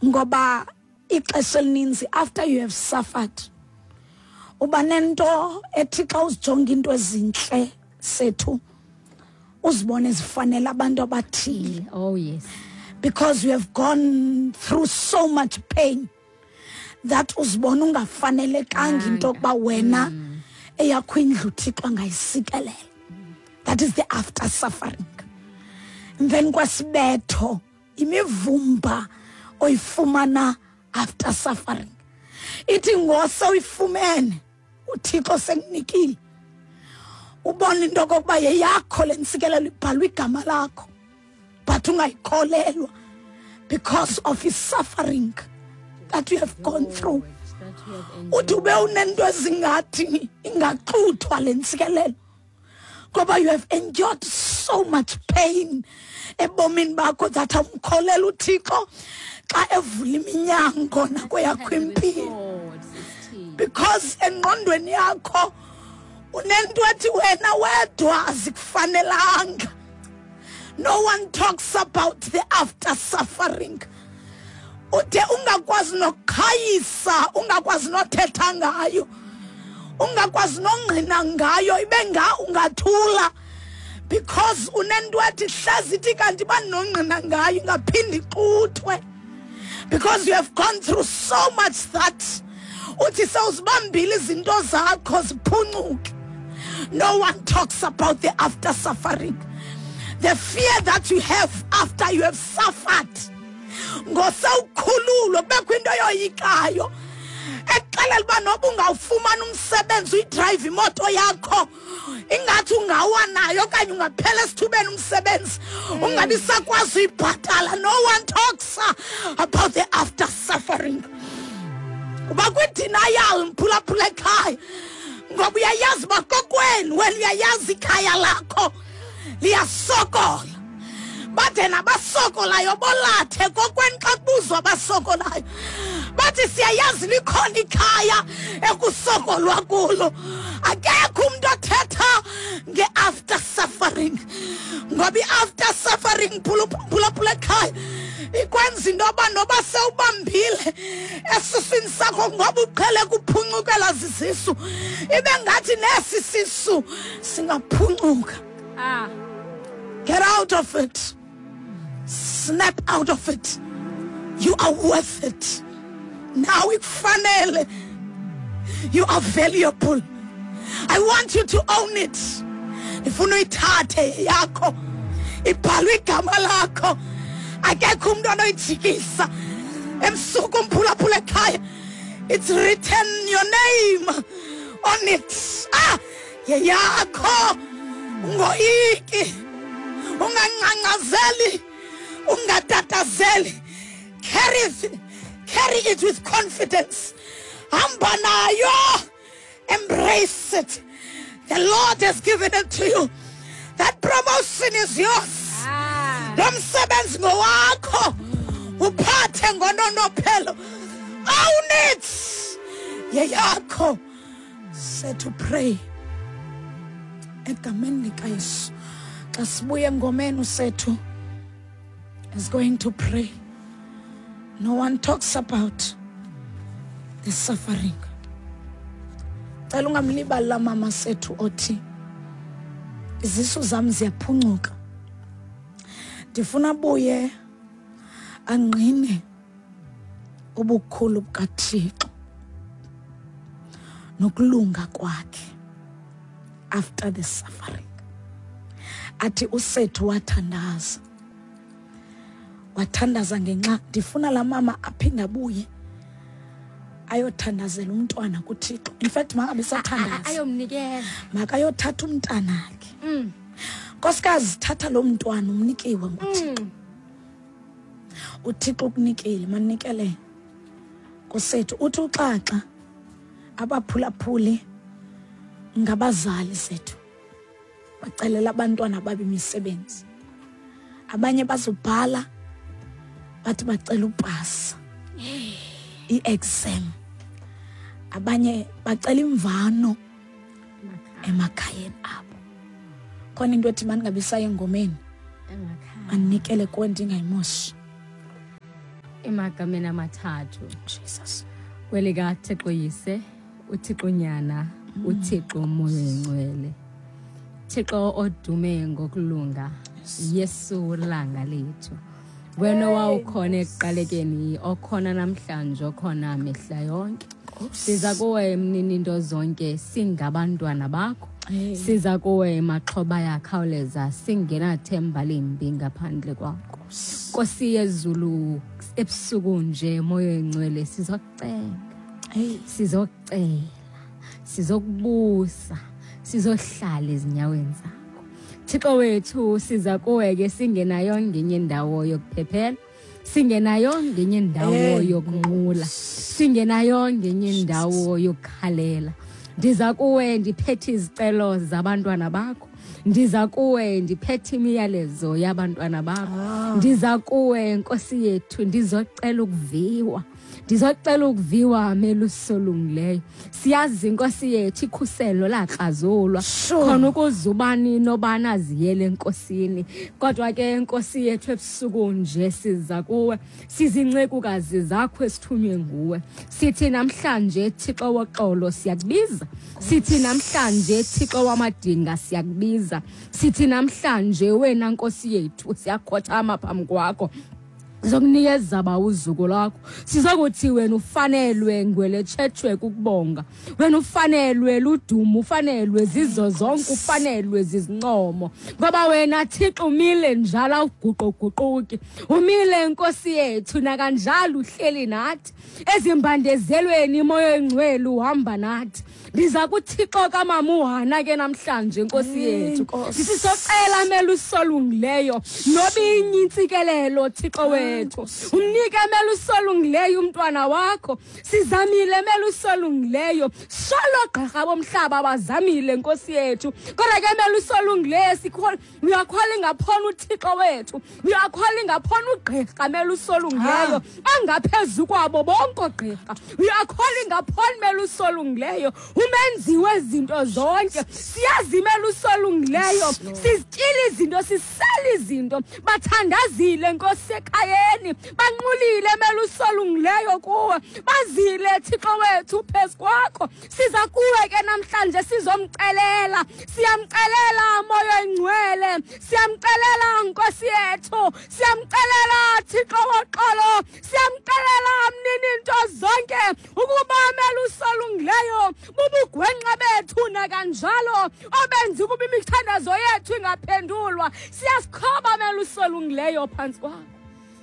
Ngoba ixesha elininzi after you have suffered, uba nento ethi xa uzijonga into ezintle sethu, uzibone zifanele abantu abathile. Oh yes. Because you have gone through so much pain that uzibona ungafanelekanga into yokuba wena eyakho indlu uThixo angayisikelela. That is the after suffering. Emveni kwesibetho, imivumba oyifumana after suffering, ithi ngose uyifumene, uThixo sekunikile, ubona into okokuba yeyakho le ntsikelelo, ibhalwe igama lakho, but ungayikholelwa because of his suffering that you have gone through. That you have Uthi ube unento ezingathi ingaxuthwa le ntsikelelo ngoba you have endured so much pain ebomini bakho that awumkholela uThixo xa evula iminyango nakweyakho impilo, because engqondweni yakho unento ethi wena wedwa azikufanelanga. No one talks about the after suffering. Ude ungakwazi nokuqhayisa, ungakwazi nothetha ngayo, ungakwazi nongqina ngayo, ibe nga ungathula because unento ethi hlezi ithi kanti banongqina ngayo ingaphinde ixuthwe, because you have gone through so much that uthi sewuzibambile izinto zakho ziphuncuke. No one talks about the after suffering, the fear that you have after you have suffered. Ngosewukhululwe kubekho into yoyikayo ekuxelela uba noba ungawufumana umsebenzi, uyidrayive imoto yakho, ingathi ungawa nayo okanye ungaphela esithubeni umsebenzi, ungabi sakwazi uyibhatala. No one talks about the after suffering. Uba kwi-denial, mphulaphula ekhaya, ngoba uyayazi uba kokwenu wena, uyayazi ikhaya lakho liyasokola, bade nabasokolayo bolathe kokwenu. Xa kubuzwa abasokolayo bathi siyayazi likhona ikhaya ekusokolwa kulo. Akekho umntu othetha nge-after suffering, ngoba i-after suffering, phulaphula ekhaya, ikwenza into yoba noba sewubambile esiswini sakho, ngoba uqhele kuphuncukela zizisu, ibe ngathi nesi sisu singaphuncuka. Get out of it. Snap out of it. You are worth it. Now ikufanele. You are valuable. I want you to own it. Ndifuna uyithathe yakho. Ibhalwe igama lakho. Akekho umuntu onoyijikisa. Ebusuku, umphulaphula ekhaya, it's written your name on it. Ah, yeyakho. Ungoyiki. Ungangcangcazeli. Ungatatazeli. Carry it, carry it with confidence. Hamba nayo. Embrace it. The Lord has given it to you. That promotion is yours. Lo msebenzi ngowakho. Uphathe ngononophelo. Own it. Yeyakho. Set to pray. Egameni likaYesu. Xa sibuye engomeni, usethu is going to pray. No one talks about the suffering. Cela ungamlibali la mama sethu othi izisu zam ziyaphuncuka. Ndifuna abuye angqine ubukhulu bukaThixo nokulunga kwakhe after the suffering. Athi usethu wathandaza, wathandaza ngenxa. Ndifuna laa mama aphinde abuye ayothandazela umntwana kuThixo. In fact, mangabe sathandaza, ayomnikela, makayothatha umntanakhe. Nkosikazi, thatha lo mntwana umnikiwe nguThixo. UThixo ukunikile, manikele kusethu. Uthi uxaxa abaphulaphuli ngabazali zethu bacelela abantwana babe imisebenzi, abanye bazobhala bathi bacela upasa i-exam, abanye bacela imvano emakhayeni abo. Khona into ethi mandingabi saya engomeni, emakhaya, anikele kuwe, ndingayimoshi. Emagameni amathathu. Jesus. KwelikaThixo Yise, uThixo Nyana, uThixo Moya Oyingcwele. Thixo odume ngokulunga, Yesu langa lethu. Wena owawukhona ekuqalekeni, okhona namhlanje, okhona mihla yonke. Siza kuwe mnini into zonke, singabantwana bakho. Siza kuwe maxhoba yakhawuleza, singenathemba limbi ngaphandle kwakho. Nkosi yezulu, ebusuku nje Moya Oyingcwele sizokucenga. Sizocela, sizokubusa, sizohlala ezinyaweni zakho. Thixo wethu, siza kuwe ke singenayo ngenye indawo yokuphephela, singenayo ngenye indawo yokunqula, singenayo ngenye indawo yokukhalela. Ndiza kuwe ndiphethe izicelo zabantwana bakho. Ndiza kuwe ndiphethe imiyalezo yabantwana bakho. Ndiza kuwe Nkosi yethu ndizocela ukuviwa. Ndizocela ukuviwa melusolungileyo. Siyazi Nkosi yethu ikhuselo lakrazulwa. Khona ukuze ubani nobani aziyele enkosini. Kodwa ke Nkosi yethu ebusuku nje siza kuwe, sizincekukazi zakho esithunywe nguwe. Sithi namhlanje Thixo woxolo siyakubiza. Sithi namhlanje Thixo wamadinga siyakubiza. Sithi namhlanje wena Nkosi yethu siyakhothama phambi kwakho. Sizokunikeza ba uzuko lwakho. Sizokuthi wena ufanelwe ngweletshethwe kukubonga. Wena ufanelwe ludumo, ufanelwe zizo zonke, ufanelwe zizincomo. Ngoba wena Thixo umile njalo awuguquguquki. Umile Nkosi yethu nakanjalo uhleli nathi. Ezimbandezelweni Moya Oyingcwele uhamba nathi. Ndiza kuThixo kaMamuhana ke namhlanje Nkosi yethu. Sisocela melusolungileyo nobinye intsikelelo Thixo wethu. Umnike melusolungileyo umntwana wakho. Sizamile melusolungileyo. Solo gqirha bomhlaba bazamile Nkosi yethu. Kodwa ke melusolungileyo uyakholwa ingaphona uThixo wethu. Uyakholwa ingaphona ugqirha melusolungileyo angaphezu kwabo bonke ogqirha. Uyakholwa ingaphona melusolungileyo umenzi wezinto zonke. Siyazi melusolungileyo sizityile izinto, sisele izinto. Bathandazile Nkosi ekhayeni, banqulile melusolungileyo kuwe. Bazile Thixo wethu phezu kwakho. Siza kuwe ke namhlanje sizomcelela. Siyamcelela Moya Oyingcwele, siyamcelela Nkosi yethu, siyamcelela Thixo woxolo, siyamcelela mnini into zonke ukuba melusolungileyo bubugwenxa bethu nakanjalo obenza ukuba imithandazo yethu ingaphendulwa. Siyasikhoba melusolungileyo phantsi kwakho.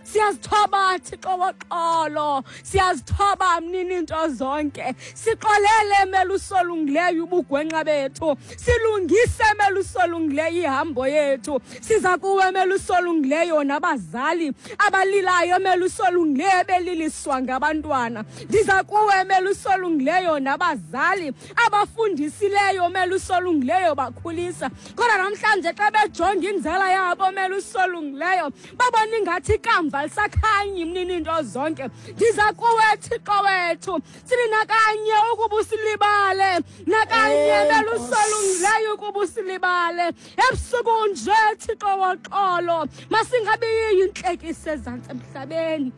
Siyazithoba Thixo woxolo, siyazithoba mnini into zonke. Sixolele melusolungileyo ubugwenxa bethu, silungise melusolungileyo ihambo yethu. Siza kuwe melusolungileyo nabazali abalilayo melusolungileyo beliliswa ngabantwana. Ndiza kuwe melusolungileyo nabazali abafundisileyo melusolungileyo bakhulisa. Kodwa namhlanje xa bejonga inzala yabo melusolungileyo babona ingathi ikamva lisakhanyi mnini into zonke. Ndiza kuwe Thixo wethu, sithi nakanye ukuba usilibale, nakanye melusolungileyo ukuba usilibale. Ebusuku nje Thixo woxolo, masingabi yintlekisa ezantsi emhlabeni.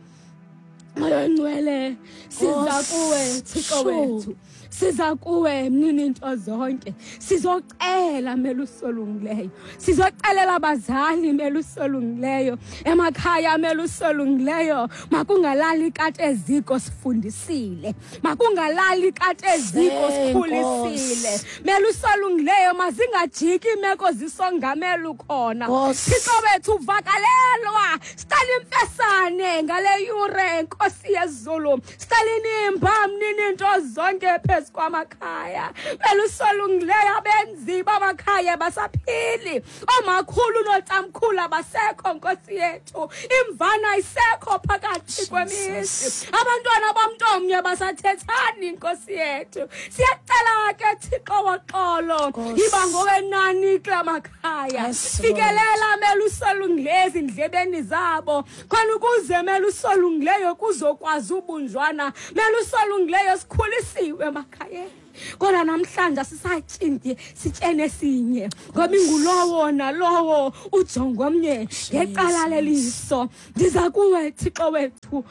Moya Oyingcwele, siza kuwe Thixo wethu, siza kuwe mnini into zonke. Sizocela melusolungileyo, sizocelela abazali melusolungileyo, emakhaya melusolungileyo. Makungalali ikati eziko sifundisile, makungalali ikati eziko sikhulisile. Melusolungileyo mazingajiki imeko zisongamela ukhona. Thixo wethu uvakalelwa, sicela imfesane ngale yure Nkosi yezulu. Sicela inimba mnini into zonke phezu kwamakhaya. Melusolungileyo abenzi bamakhaya basaphili, oomakhulu nootamkhulu abasekho Nkosi yethu. Imvana isekho phakathi kwemizi, abantwana bomntu omnye basathethani Nkosi yethu. Siyacela ke Thixo woxolo, yiba ngowenani kula makhaya. Fikelela melusolungileyo ezindlebeni zabo, khona ukuze melusolungileyo kuzokwazi ubunjwana. Melusolungileyo sikhulisiwe emakhayeni, kodwa namhlanje asisatshindi sitshene sinye, ngoba ingulowo nalowo ujonga omnye ngecala leliso. Ndiza kuwe Thixo wethu,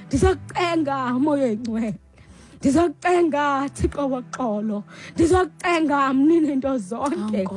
ndizokucenga Moya Oyingcwele, ndizokucenga Thixo woxolo, ndizokucenga mnini into zonke,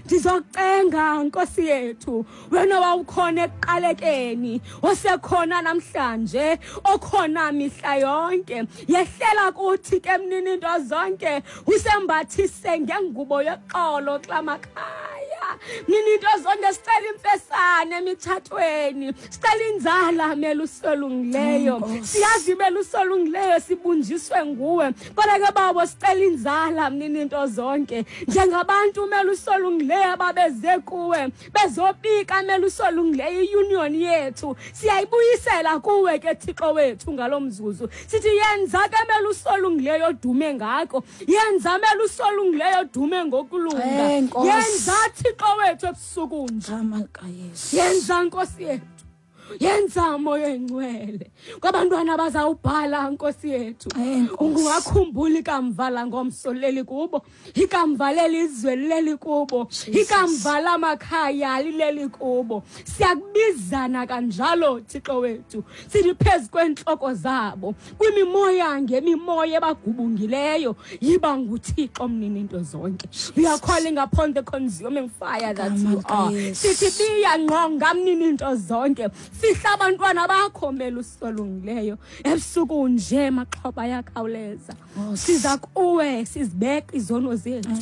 ndizokucenga Nkosi yethu, wena wawukhona ekuqalekeni, osekhona namhlanje, okhona mihla yonke. Yehlela kuthi ke mnini into zonke, usembathise ngengubo yoxolo kula makhaya. Mnini into zonke, sicela imfesane emitshatweni, sicela inzala melusolungileyo. Siyazi melusolungileyo sibunjiswe nguwe, kodwa ke babo sicela inzala mnini into zonke. Njengabantu melusolungileyo ababeze kuwe bezobika melusolungileyo iunion yethu, siyayibuyisela kuwe ke Thixo wethu ngalo mzuzu. Sithi yenza ke melusolungileyo dume ngako, yenza melusolungileyo dume ngokulunga, yenza Thixo wethu ebusuku nje, yenza Nkosi yethu, yenza Moya Oyingcwele kwabantwana bazawubhala Nkosi yethu. Ungakhumbuli ikamva langomso leli kubo, ikamva lelizwe leli kubo, ikamva lamakhaya lileli kubo. Siyakubizana kanjalo Thixo wethu, sithi phezu kwentloko zabo, kwimimoya ngemimoya ebagubungileyo, yiba nguThixo mnini into zonke. We are calling upon the consuming fire that you are. Sithi biya ngqonga mnini into zonke, fihla abantwana bakho melusolungileyo. Ebusuku nje maxhoba ayakhawuleza, siza kuwe sizibeka izono zethu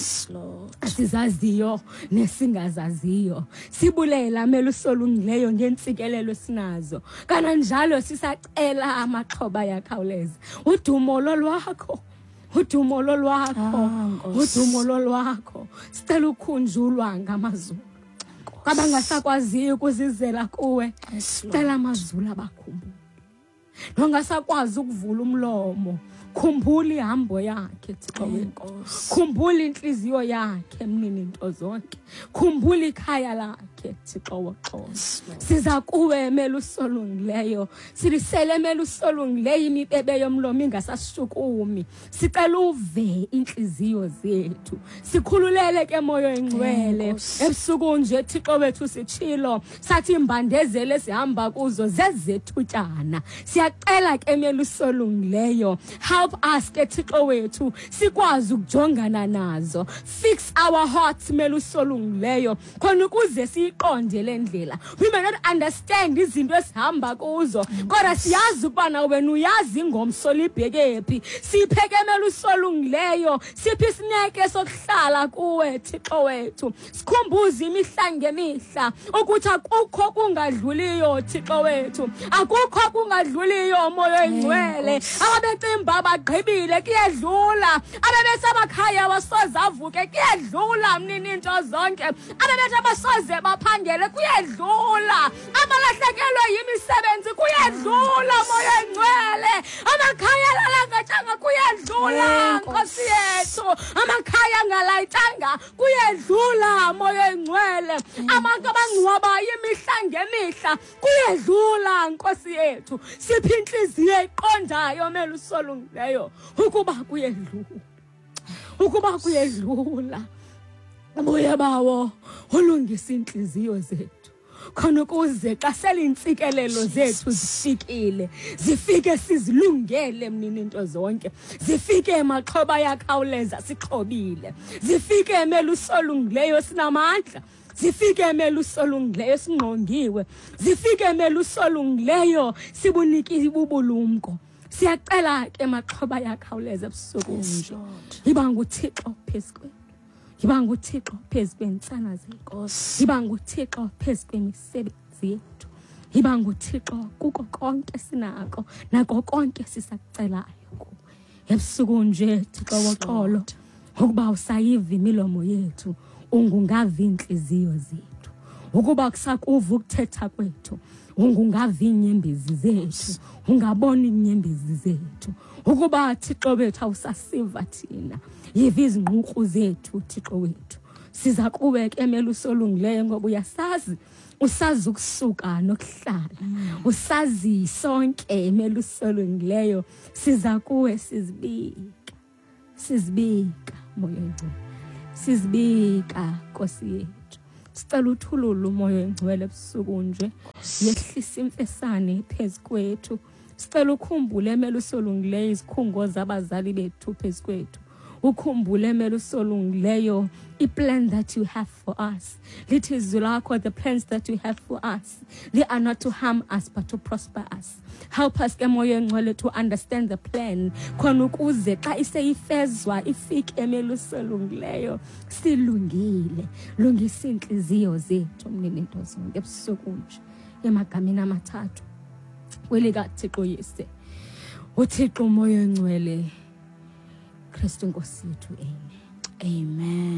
sizaziyo nesingazaziyo, sibulela melusolungileyo ngentsikelelo esinazo, kananjalo sisacela amaxhoba ayakhawuleza. Udumo lolwakho, udumo lolwakho, udumo lolwakho. Sicela ukhunjulwa ngamazulu kwabangasakwaziyo ukuzizela kuwe, sicela amazulu abakhumbule. Nongasakwazi ukuvula umlomo, khumbula ihambo yakhe Thixo wethu, khumbula inhliziyo yakhe mnini into zonke, khumbula ikhaya lakhe Thixo woxolo. Siza kuwe melusolungileyo, silisele melusolungileyo imibebe yomlomo ingasashukumi. Sicela uve inhliziyo zethu, sikhululele ke Moya Oyingcwele. Ebusuku nje Thixo wethu sitshilo sathi imbandezelo esihamba kuzo zezethutyana. Siyacela ke melusolungileyo, help us ke Thixo wethu sikwazi ukujongana nazo. Fix our hearts melusolungileyo, khona ukuze siyiqonde le ndlela. We may not understand izinto esihamba kuzo, kodwa siyazi ukubana wena uyazi ingomso libheke phi. Siphe ke melusolungileyo, siphe isineke sokuhlala kuwe Thixo wethu. Sikhumbuze imihla ngemihla ukuthi akukho kungadluliyo Thixo wethu, akukho kungadluliyo Moya Oyingcwele. Ababecimba bagqibile, kuyedlula. Abebesemakhaya abasoze avuke, kuyedlula mnini into zonke. Abebethi abasoze baphangele, kuyedlula. Abalahlekelwe yimisebenzi, kuyedlula Moya Oyingcwele. Amakhaya alalangatshanga, kuyedlula Nkosi yethu. Amakhaya angalayitanga, kuyedlula Moya Oyingcwele. Abantu abangcwabayo imihla ngemihla, kuyedlula Nkosi yethu. Siphi inhliziyo eqondayo melusolungileyo ukuba kuyedlula, ukuba kuyedlula. Buye bawo ulungisa inhliziyo zethu, khona ukuze xa selintsikelelo zethu zifikile, zifike sizilungele mnini into zonke, zifike emaxhoba ayakhawuleza sixhobile, zifike melusolungileyo sinamandla, zifike melusolungileyo singqongiwe, zifike melusolungileyo sibunike ubulumko. Siyacela ke maxhoba ayakhawuleza ebusuku nje, yiba nguThixo phezu kwethu, yiba nguThixo phezu kweentsana zethu, yiba nguThixo phezu kwemisebenzi yethu, yiba nguThixo kuko konke sinako nako konke sisakucelayo kuwe. Ebusuku nje Thixo woxolo, ukuba usayiva imilomo yethu, ungungavi iintliziyo zethu, ukuba kusakuva ukuthetha kwethu, ungungavi iinyembezi zethu, ungabona iinyembezi zethu, ukuba Thixo wethu awusasiva thina, yiva izingququ zethu Thixo wethu. Siza kuwe ke, melusi olungileyo, ngoba uyasazi, usazi ukusuka nokuhlala, usazi sonke, melusi olungileyo. Siza kuwe sizibika, sizibika, Moya Oyingcwele, sizibika, Nkosi yethu. Sicela uthulule uMoya Oyingcwele ebusuku nje, yehlisa imfesane phezu kwethu. Sicela ukhumbule, melusi olungileyo, izikhungo zabazali bethu phezu kwethu. Ukhumbule, melusi olungileyo, i-plan that you have for us. Lithi izwi lakho, the plans that you have for us, they are not to harm us but to prosper us. Help us ke, Moya Engcwele, to understand the plan, khona ukuze xa iseyifezwa ifike, melusi olungileyo, silungile. Lungisa iintliziyo zethu, mnini-nto zonke, ebusuku nje, emagameni amathathu, kwelikaThixo Yise, uThixo uMoya Engcwele, Kristu Nkosi yethu, amen. Amen.